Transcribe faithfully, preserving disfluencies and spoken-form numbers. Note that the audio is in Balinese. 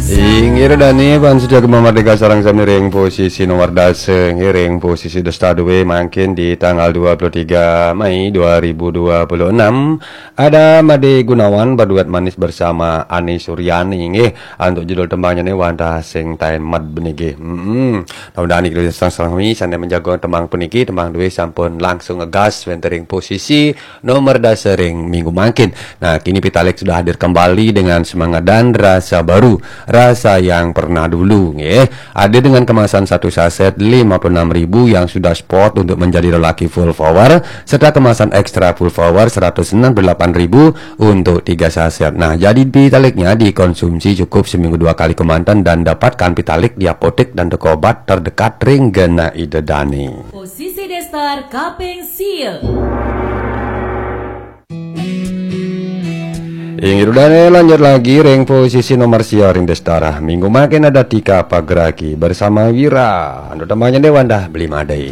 Inggih ida dane, bangsa Jagat Merdeka sareng sami ring posisi nomor dasa, nggih, ring posisi dasa dua mangkin di tanggal dua puluh tiga Mei dua ribu dua puluh enam. Ada Made Gunawan berduet manis bersama Ani Suryani, nggih. Antuk judul tembangnyané wantah sing taén med beniki. Mm-mm. Mudah-mudahan niki sareng sami sané menjaga tembang puniki, tembang dua sampun langsung ngegas wénten ring posisi nomor dasa ring minggu mangkin. Nah, kini Pitalik sudah hadir kembali dengan semangat dan rasa baru, rasa yang pernah dulu, nggih. Hadir dengan kemasan satu saset lima puluh enam ribu yang sudah spot untuk menjadi lelaki full power, serta kemasan ekstra full power seratus enam puluh delapan ribu untuk tiga saset. Nah, jadi Pitaliknya dikonsumsi cukup seminggu dua kali kemanten dan dapatkan Pitalik di apotek dan toko obat terdekat ring genah ida dane. Posisi daster kaping sia. Inggih ida dane, lanjut lagi ring posisi nomor sia ring daster. Minggu mangkin ada Tika Pagraki bersama Wira. Antuk tembangnyané wantah Beli Madé.